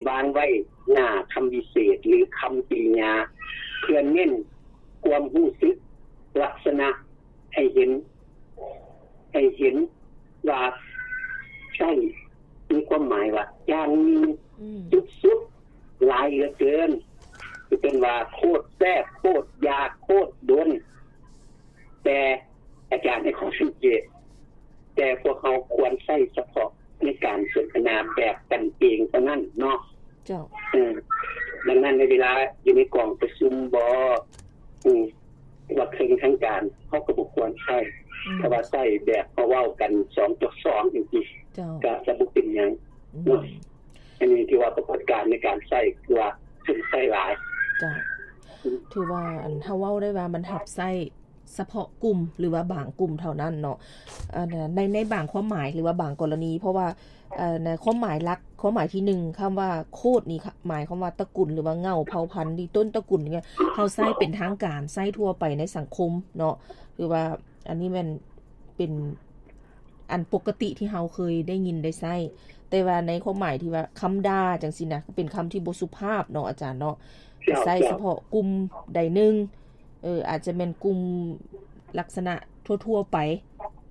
ປາງໄວ້ໜ້າຄຳວິເສດ ຫຼື ຄຳກິລິຍາ ເພື່ອເນັ້ນຄວາມຮູ້ສຶກ ລັກສະນະໃຫ້ເຫັນ ໃຫ້ເຫັນວ່າໃຊ້ ມີຄວາມໝາຍວ່າຢ່າງໜຶ່ງ ອືມ ສຸດໆ ຫຼາຍເຫຼືອເກີນ ເປັນຕົ້ນວ່າໂຄດແຊບ ໂຄດຢາກ ໂຄດດົນ ແຕ່ອາຈານໃຫ້ຂໍ້ສັງເກດ ແຕ່ພວກເຮົາຄວນໃຊ້ສະເພາະໃນການສົນທະນາແບບກັນເອງເທົ່ານັ້ນເນາະ. ເຈົ້າ. ເອີ ດັ່ງນັ້ນໃນເວລາຢູ່ໃນກອງປະຊຸມບໍ ອື ຫຼືວ່າເຄິ່ງທາງການ ເຮົາກໍບໍ່ຄວນໃຊ້. ອືມ. ຖ້າວ່າໃຊ້ແບບເຮົາເວົ້າກັນສອງຕໍ່ສອງຈັ່ງຊີ້ ເຈົ້າ ກໍຈະບໍ່ເປັນຫຍັງ ອືມ ເນາະ. ອັນນີ້ຖືວ່າປາກົດການໃນການໃຊ້ ຄືວ່າເພິ່ນໃຊ້ຫຼາຍ. ເຈົ້າ. ອືມ. ຖືວ່າ ອັນ ເຮົາເວົ້າໄດ້ວ່າມັນຮັບໃຊ້ ສະເພາະກຸ່ມ ຫຼືວ່າບາງກຸ່ມເທົ່ານັ້ນເນາະ ອັນ ໃນ ໃນບາງຄວາມໝາຍ ຫຼືວ່າບາງກໍລະນີ ເພາະວ່າ ເອີ ໃນຄວາມໝາຍຫຼັກ ຄວາມໝາຍທີໜຶ່ງ ຄຳວ່າໂຄດນີ້ ໝາຍຄວາມວ່າຕະກຸນ ຫຼືວ່າເຫງົ້າເຜົ່າພັນ ຫຼືຕົ້ນຕະກຸນນີ້ ເຮົາໃຊ້ເປັນທາງການ ໃຊ້ທົ່ວໄປໃນສັງຄົມເນາະ ຫຼືວ່າອັນນີ້ແມ່ນເປັນອັນປົກກະຕິທີ່ເຮົາເຄີຍໄດ້ຍິນໄດ້ໃຊ້ ແຕ່ວ່າໃນຄວາມໝາຍທີ່ວ່າຄຳດ່າຈັ່ງຊີ້ນະ ກໍເປັນຄຳທີ່ບໍ່ສຸພາບເນາະອາຈານເນາະ ເຈົ້າ ໃຊ້ ເຈົ້າ ສະເພາະກຸ່ມໃດໜຶ່ງ ເອີ ອາດຈະແມ່ນກຸ່ມລັກສະນະທົ່ວໆໄປ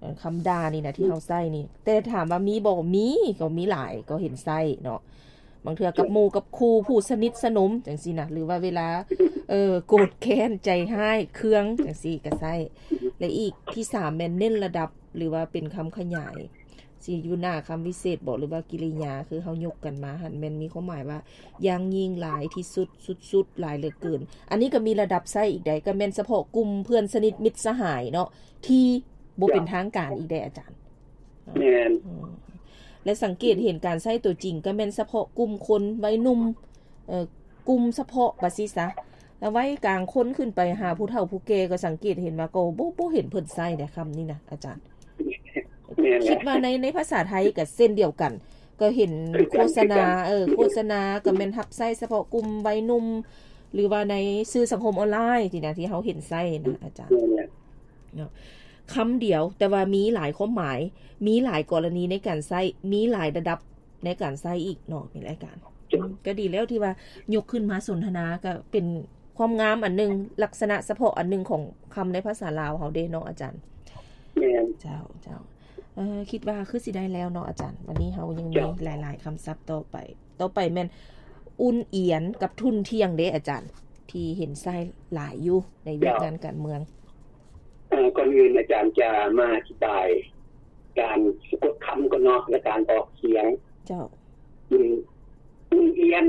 ເອີ ຄຳດ່ານີ້ນະທີ່ເຮົາໃຊ້ນີ້ ແຕ່ຖາມວ່າມີບໍ່? ມີ ກໍມີຫຼາຍ ກໍເຫັນໃຊ້ເນາະ ບາງເທື່ອກັບໝູ່ກັບຄູ່ ຜູ້ສະໜິດສະໜົມຈັ່ງຊີ້ນະ ຫຼືວ່າເວລາ ເອີ ໂກດແຄ້ນ ໃຈຮ້າຍ ເຄືອງຈັ່ງຊີ້ກໍໃຊ້ ແລະ ອີກທີສາມແມ່ນເນັ້ນລະດັບ ຫຼືວ່າເປັນຄຳຂະຫຍາຍ ຊິຢູ່ໜ້າຄຳວິເສດບໍ ຫຼືວ່າກິລິຍາ ຄືເຮົາຍົກກັນມາຫັ້ນ ແມ່ນມີຄວາມໝາຍວ່າຢ່າງຍິ່ງ ຫຼາຍທີ່ສຸດ ສຸດໆ ຫຼາຍເຫຼືອເກີນ ອັນນີ້ກໍມີລະດັບໃຊ້ອີກໃດ ກໍແມ່ນສະເພາະກຸ່ມເພື່ອນສະໜິດມິດສະຫາຍເນາະ ທີ່ບໍ່ເປັນທາງການອີກໃດອາຈານ. ແມ່ນ. ອືມ ແລະ ສັງເກດເຫັນການໃຊ້ຕົວຈິງ ກໍແມ່ນສະເພາະກຸ່ມຄົນໄວໜຸ່ມ ເອີ ກຸ່ມສະເພາະວ່າຊີ້ຊະ ແລ້ວໄວກາງຄົນຂຶ້ນໄປຫາຜູ້ເຖົ້າຜູ້ແກ່ ກໍສັງເກດເຫັນວ່າ ກໍບໍ່ ບໍ່ເຫັນເພິ່ນໃຊ້ໃດຄຳນີ້ນະອາຈານ. ແມ່ນແຫຼະ ຄິດວ່າໃນ ໃນພາສາໄທກໍເຊັ່ນດຽວກັນ ກໍເຫັນ ຄືກັນ ໂຄສະນາ ຄືກັນ ເອີ ໂຄສະນາກໍແມ່ນຮັບໃຊ້ສະເພາະກຸ່ມໄວໜຸ່ມ ຫຼືວ່າໃນສື່ສັງຄົມອອນລາຍນີ້ນະ ທີ່ເຮົາເຫັນໃຊ້ນະອາຈານ ແມ່ນແຫຼະ ເນາະ ຄຳດຽວ ແຕ່ວ່າມີຫຼາຍຄວາມໝາຍ ມີຫຼາຍກໍລະນີໃນການໃຊ້ ມີຫຼາຍລະດັບໃນການໃຊ້ອີກເນາະ ມີຫຼາຍການ ເຈົ້າ ອືມ ກໍດີແລ້ວທີ່ວ່າຍົກຂຶ້ນມາສົນທະນາ ກໍເປັນຄວາມງາມອັນໜຶ່ງ ລັກສະນະສະເພາະອັນໜຶ່ງຂອງຄຳໃນພາສາລາວເຮົາເດ້ເນາະອາຈານ. ແມ່ນ. ເຈົ້າ ເຈົ້າ. ເອີ ຄິດວ່າຄືຊິໄດ້ແລ້ວເນາະອາຈານ. ວັນນີ້ເຮົາຍັງມີ ເຈົ້າ ຫຼາຍໆຄຳສັບຕໍ່ໄປ. ຕໍ່ໄປແມ່ນອຸ່ນອຽນກັບທຸ່ນທ່ຽງເດ້ອາຈານ ທີ່ເຫັນໃຊ້ຫຼາຍຢູ່ໃນວຽກ ເຈົ້າ ງານການເມືອງ. ເອີ ກ່ອນອື່ນອາຈານຈະມາອະທິບາຍການສະກົດຄຳກ່ອນເນາະ ແລະ ການອອກສຽງ. ເຈົ້າ. ອືມ ອຸ່ນອຽນ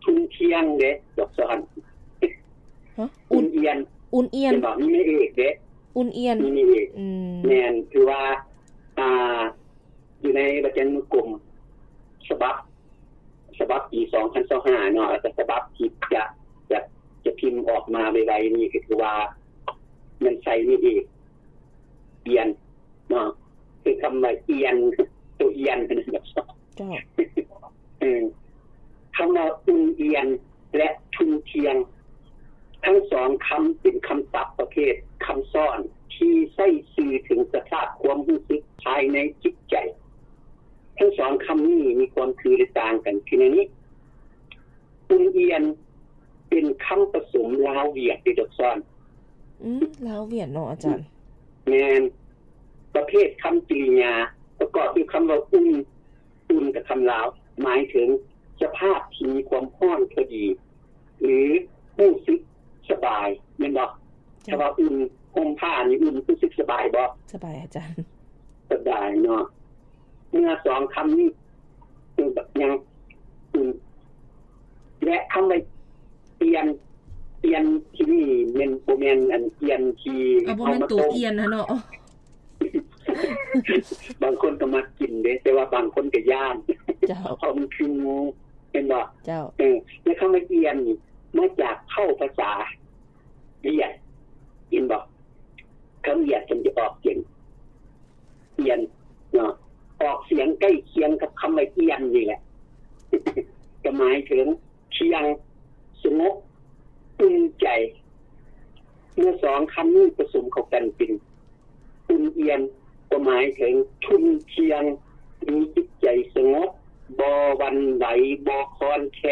ທຸ່ນທ່ຽງເດ້ ດອກສອນ. ຮະ? ອຸ່ນ ອຸ່ນອຽນ ອຸ່ນອຽນ ເຫັນບໍ່? ມີໄມ້ເອກເດ້ ອຸ່ນອຽນ ມີໄມ້ເອກ. ອືມ ແມ່ນ ຄືວ່າ ອ່າ ຢູ່ໃນວະຈະນານຸກົມສະບັບ ສະບັບປີສອງພັນຊາວຫ້າເນາະ ແລ້ວກໍສະບັບທີ່ຈະ ຈະ ຈະພິມອອກມາໄວໆນີ້ ກໍຄືວ່າມັນໃສ່ໄມ້ເອກ ອຽນ ເນາະ ຄືຄຳວ່າອຽນ ໂຕອຽນ ເຈົ້າ. ເອີ ຄຳວ່າອຸ່ນອຽນ ແລະ ທຸ່ນທ່ຽງ ທັງສອງຄຳເປັນຄຳສັບປະເພດຄຳຊ້ອນທີ່ໃຊ້ສື່ເຖິງສະພາບຄວາມຮູ້ສຶກພາຍໃນຈິດໃຈ. ທັງສອງຄຳນີ້ມີຄວາມຄື ແລະ ຕ່າງກັນຄືແນວນີ້. ອຸ່ນອຽນ ເປັນຄຳປະສົມລາວຫວຽດເດ້ ດອກສອນ. ອືມ ລາວຫວຽດເນາະອາຈານ. ແມ່ນ. ປະເພດຄຳກິລິຍາປະກອບດ້ວຍຄຳວ່າອຸ່ນ ອຸ່ນກັບຄຳລາວ ໝາຍເຖິງສະພາບທີ່ມີຄວາມຮ້ອນພໍດີ ຫຼື ຮູ້ສຶກສະບາຍ ແມ່ນບໍ່? ເຈົ້າ. ຖ້າວ່າອຸ່ນ ຫົ່ມຜ້ານີ້ອຸ່ນ ຮູ້ສຶກສະບາຍບໍ່? ສະບາຍອາຈານ. ສະບາຍເນາະ. ເມື່ອສອງຄຳນີ້ ຄືແບບຫຍັງ? ອືມ ແລະ ຄຳວ່າອຽນ ອຽນທີ່ນີ້ແມ່ນ ບໍ່ແມ່ນອັນອຽນທີ່ ເອົາ ບໍ່ແມ່ນໂຕອຽນຫັ້ນເນາະ. ບາງຄົນກໍມັກກິນເດ້ ແຕ່ວ່າບາງຄົນກໍຢ້ານ. ເຈົ້າ. ເພາະມັນຄືງູ ແມ່ນບໍ່? ເຈົ້າ. ເອີ ແລະ ຄຳວ່າອຽນນີ້ມາຈາກເຜົ່າພາສາຫວຽດ ເຫັນບໍ່? ຄຳຫວຽດເພິ່ນຈະອອກສຽງ ອຽນເນາະ ອອກສຽງໃກ້ຄຽງກັບຄຳວ່າອຽນນີ້ແຫຼະ ກໍໝາຍເຖິງທ່ຽງ, ສະຫງົບ, ອຸ່ນໃຈ. ເມື່ອສອງຄຳນີ້ປະສົມເຂົ້າກັນເປັນອຸ່ນອຽນ ກໍໝາຍເຖິງທຸ່ນທ່ຽງ, ມີຈິດໃຈສະຫງົບ, ບໍ່ຫວັ່ນໄຫວ, ບໍ່ຄອນແຄ